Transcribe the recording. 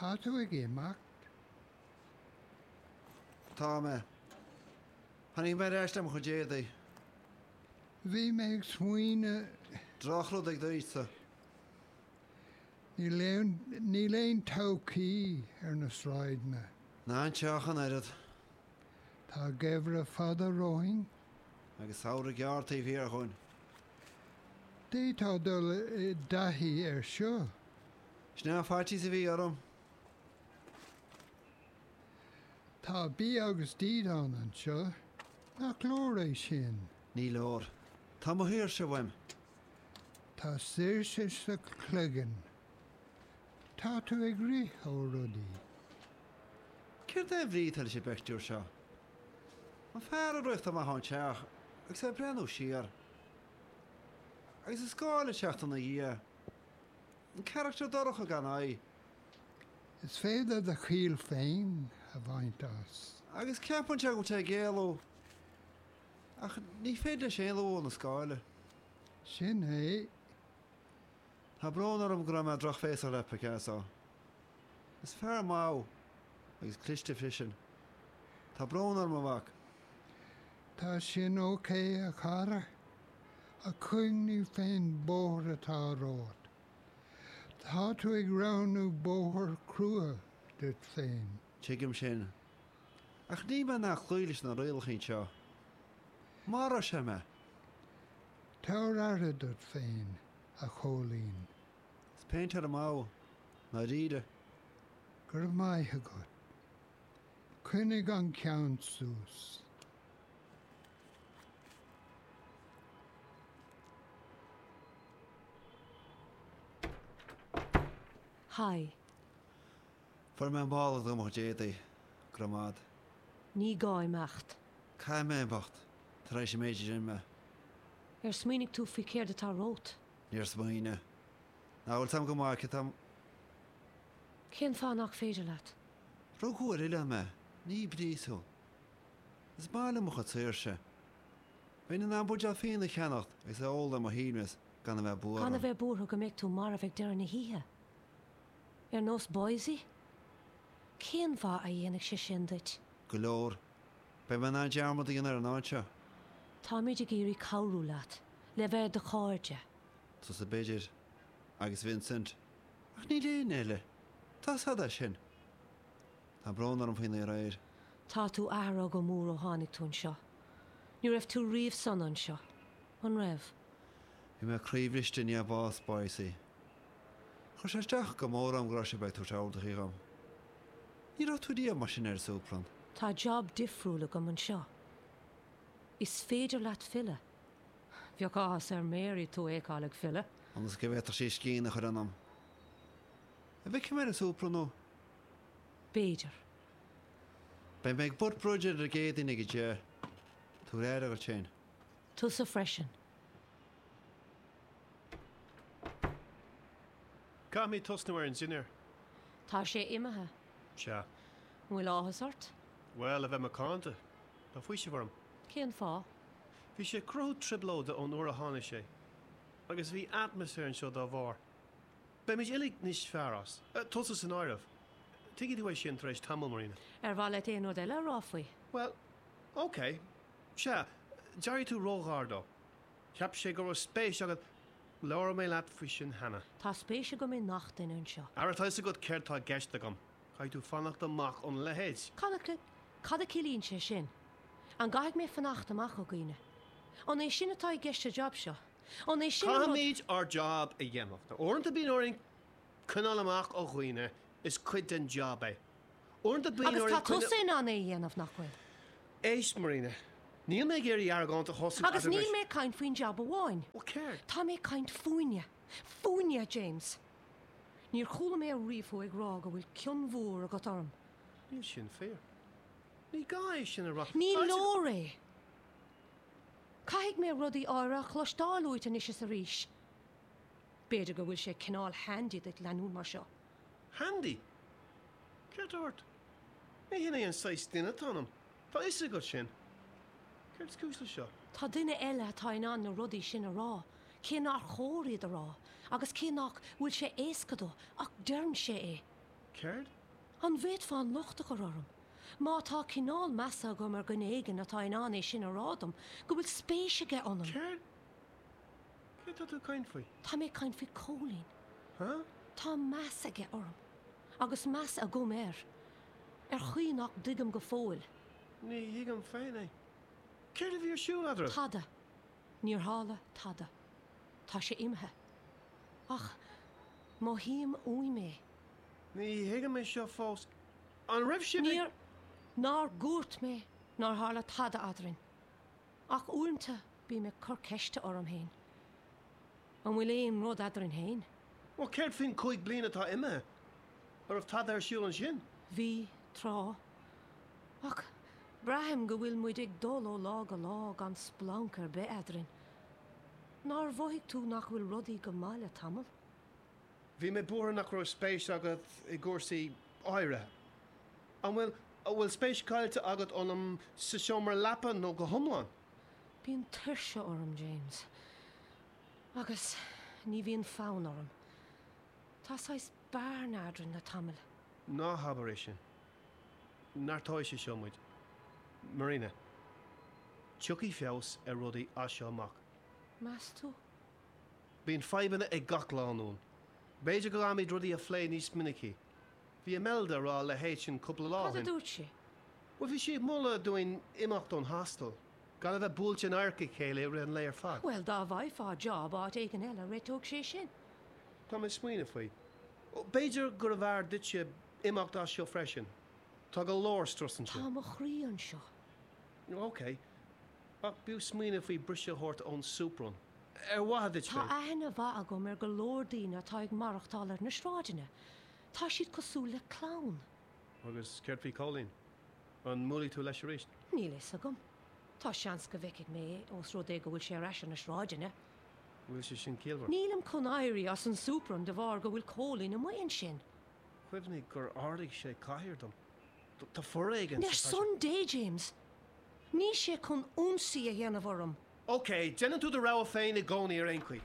Tá tú ag imeacht? Tá mé. Tháinig mé ar ais le mo chuid éadaí. Bhí mé ag smaoineamh. Drochrud ag duitse. Níl aon, níl aon todhchaí ar na sráideanna. Ná anseo ach an oiread. Tá geimhreadh fada romhainn. Agus samhradh gearr taobh thiar dhúinn. D'fhéadfá dul i dtaithí air seo. Sin é an faitíos a bhí orm. Tá bia agus dídean anseo. Nach leor é sin? Ní leor. Tá mo shaoirse uaim. Tá saoirse sa chloigeann. Tá tú ag rith ó rudaí. Céard é an bhrí atá leis an bpictiúr seo? An fear ag rith amach ón teach agus é ag breathnú siar. Agus an scáil ag teacht ina dhiaidh. An carachtar dorcha gan aghaidh. Is féidir do chiall féin a bhaint as. Agus ceapann sé go bhfuil sé ag éalú. Ach ní féidir leis éalú ó na scáile. Sin é. Tá brón orm go raibh mé drochbhéasach leat, Picasso. Is fear maith thú. Agus cliste freisin. Tá brón orm, a mhac. Tá sin ok, a chara. Ach cuimhnigh fén bóthar atá romhat. Tá tú ag roghnú bóthar crua duit féin. Tuigim sin. Ach níl mé in ann cloí leis na rialacha anseo. Maróidh sé mé. Tabhair aire duit féin, a Chóilín. Is péintéir maith thú, i ndáiríre. Go raibh maith agat. Coinnigh an ceann suas. Haigh. Fuair mé an mála do mo chuid éadaí. Go raibh maith agat. Ní gá imeacht. Caithfidh mé imeacht, tar éis an méid a rinne mé. Ar smaoinigh tú faoi céard atá romhat? Níor smaoinigh. Nach bhfuil a fhios agam go maith céard atá. Cén fáth nach féidir leat? Rugadh ar oileán mé, ní i bpríosún. Is maith liom mo chuid saoirse. Bheinn in ann buidéal fíona a cheannacht agus é a ól ar mo shuaimhneas gan a bheith buartha. Gan a bheith buartha go mbeidh tú marbh ag deireadh na hoíche? Ar nós Boysie? Cén mhaith a dhéanfaidh sé sin duit? Go leor. Beidh mé in ann dearmad a dhéanamh ar an áit seo. Táimid ag iarraidh cabhrú leat, le bheith ar do chairde. Tusa b'fhéidir. Agus Vincent. Ach níl éinne eile. Tá 'fhios a'd é sin. Tá brón orm faoin aréir. Tá tú athraithe go mór ó tháinig tú anseo. Ní raibh tú riamh sona anseo, an raibh? Bhí mé croíbhriste i ndiaidh bás Boysie. Chuir sé isteach go mór orm go raibh sibh ag tabhairt ordaithe dhom. Ní raibh tú riamh mar sin ar an Súplann. Tá job difriúil agam anseo. Is féidir leat filleadh. Bheadh áthas ar Mary tú a fheiceáil ag filleadh. Ionas go bhféadfadh sí scian a chur ionam. An bhfeicfidh mé ar an Súplann thú? B'fhéidir. Beidh mé ag Butt Bridge ar an gCéadaoin ag a 10. Tabhair aire dhuit féin. Tusa freisin. Caithfimid tosnú ar an dinnéar. Tá sé imithe. Sea. An bhfuil áthas ort? Bhuel, a bheith macánta, tá faoiseamh orm. Cén fáth? Bhí sé ag cruthú trioblóide ón uair a tháinig sé. Agus bhí atmaisféar anseo dá bharr. Beimid uilig níos fearr as. Tusa san áireamh. Tuigfidh tú é sin tar éis tamaill, Marina. Ar mhaith leat aon rud eile a rá faoi? Bhuel, ok. Sea, d'éirigh tú róghar dó. Cheap sé go raibh spéis agat. Labhair mé leat faoi sin cheana. Tá spéis agam i ngach duine anseo. Ara, tá 'fhios agat céard tá i gceist agam. Caithfidh tú fanacht amach óna leithéid. Cad a, cad a chiallaíonn sé sin? An gcaithfidh mé fanacht amach ó dhaoine? An é sin atá i gceist sa jab seo? An é sin an rud. Caithfimid ár jab a dhéanamh. Uaireanta bíonn orainn coinneáil amach ó dhaoine, is cuid den jab é. Uaireanta bíonn Agus orainn tá tusa in ann é a dhéanamh, nach bhfuil? Éist, Marina, níl mé ag iarraidh argóint a thosú Agus níl mé ag caint faoin jab amháin. Bhuel, céard? Tá mé ag caint fúinne. Fúinne, James. Níor chuala mé ariamh thú ag rá go bhfuil cion mhór agat orm. Níl sin fíor. Ní gá é sin a rá. Ní leor é. Caithfidh mé rudaí áirithe a chloisteáil uait anois is arís. B'fhéidir go bhfuil sé cineál handy duit leanúint mar seo. Handy? Céard tá ort? Ní hin é an saghas duine atá ionam. Tá a fhios agat sin. Céard is cúis leis seo? Tá duine eile atá in ann na rudaí sin a rá, cé nár chóir iad a rá, agus cé nach bhfuil sé éasca dó, ach deireann sé é. Céard? An bhféadfá an locht a chur orm, má tá cineál measa agam ar dhuine éigin atá in ann é sin a rá dom, go bhfuil spéis aige ionam? Céard? Céard tá tú ag caint faoi? Tá mé ag caint faoi Cóilín. Huh? Tá meas aige orm, agus meas agam air, ar chaoi nach dtuigim go fóill. Ní thuigim féin é. Céard a bhí ar siúl eadraibh? Tada. Níor tharla tada. Tá sé imithe. Ach mothaím uaim é. Ní thuigim é seo fós. An raibh sibh ag. Níor. Nár dhúirt mé nár tharla tada eadrainn. Ach uaireanta bím ag cur ceiste orm féin. An bhfuil aon rud eadrainn féin? Bhuel, céard faoin 5 bliana atá imithe? An raibh tada ar siúl ansin? Bhí, tráth. Ach braithim go bhfuil muid ag dul ó lá go lá gan splanc ar bith eadrainn. Nár mhothaigh tú nach bhfuil rudaí go maith le tamall? Bhí mé buartha nach raibh spéis agat i gcúrsaí áirithe. An bhfuil, an bhfuil spéis caillte agat ionam sa seomra leapa nó go hiomlán? Bíonn tuirse orm, James. Agus ní bhíonn fonn orm. Tá saghas bearna eadrainn le tamall. Ná habair é sin. Neartóidh sé seo muid. Marina, tiocfaidh feabhas ar rudaí as seo amach. Meas tú? Bíonn fadhbanna ag gach lánúin. B'fhéidir go gcaithfimid rudaí a phlé níos minicí. Bhí Imelda ag rá a leithéid sin cúpla lá ó Cad a shin. dúirt sí? Bhuel, bhí sí ag moladh dúinn imeacht ón hostel, gan a bheith buailte in adharca a chéile i rith an lae ar fad. Bhuel, dá bhfaighfeá job áit éigin eile, réiteodh sé sin. Tá mé ag smaoineamh faoi. B'fhéidir gurbh fhearr duitse imeacht as seo freisin. Tá go leor strus anseo. Tá mo chroí anseo. Ok. Ach b'fhiú smaoineamh faoi briseadh a thabhairt ón soup run. Ar mhaithe duit Tá féin. aithne mhaith agam ar go leor daoine atá ag maireachtáil ar na sráideanna. Tá siad cosúil le clann. Agus céard faoi Cóilín? An mbuailfidh tú leis arís? Níl a fhios agam. Tá seans go bhfeicfidh mé é, ós rud é go bhfuil sé ar ais ar na sráideanna. Bhfuil sé sin ciallmhar? Nílim chun éirí as an soup run de bharr go bhfuil Cóilín amuigh ansin. Cuimhnigh gur ardaigh sé cathaoir dom. Tá foréigean Ar sa son Dé, James! Níl sé chun ionsaí a dhéanamh orm. Ok, déanann tú do rogha féin i gcónaí ar aon chaoi.